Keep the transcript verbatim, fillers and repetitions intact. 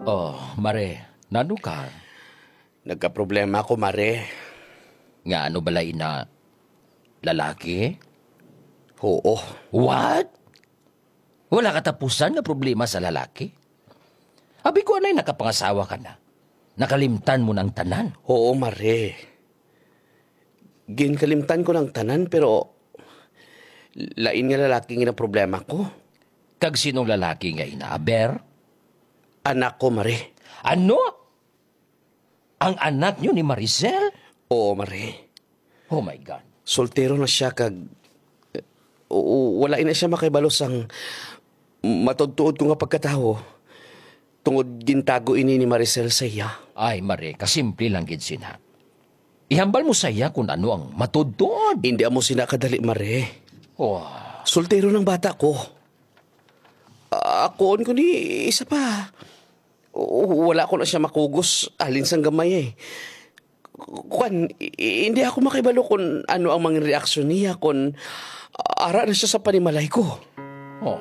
Oh, Mare, nano ka? Nagkaproblema ako, Mare. Nga ano bala ina? Lalaki? Oo. What? Wala katapusan nga problema sa lalaki? Abi ko anay nakapangasawa ka na. Nakalimtan mo na ang tanan. Oo, Mare. Ginkalimtan ko ng tanan, pero lain nga lalaki nga problema ko. Kag sinong lalaki nga ina, Aber? Anak ko, Mare. Ano? Ang anak niyo ni Maricel? Oo, Mare. Oh my God. Soltero na siya kag, eh, oo, wala na siya makahibalo sang matudtuod ko nga pagkatawo, tungod gintago ini ni Maricel sa iya. Ay, Mare, kasimple lang gid sina. Ihambal mo sa iya kung ano ang matudtuod. Hindi amo sina kadali, Mare. Oh. Soltero ng bata ko. Akuon ko ni isa pa. O, wala ko na siya makugos halin sang gamay, eh. Kwan, i-, hindi ako makibalo kung ano ang mga reaksyon niya kung ara na siya sa panimalay ko. Oh.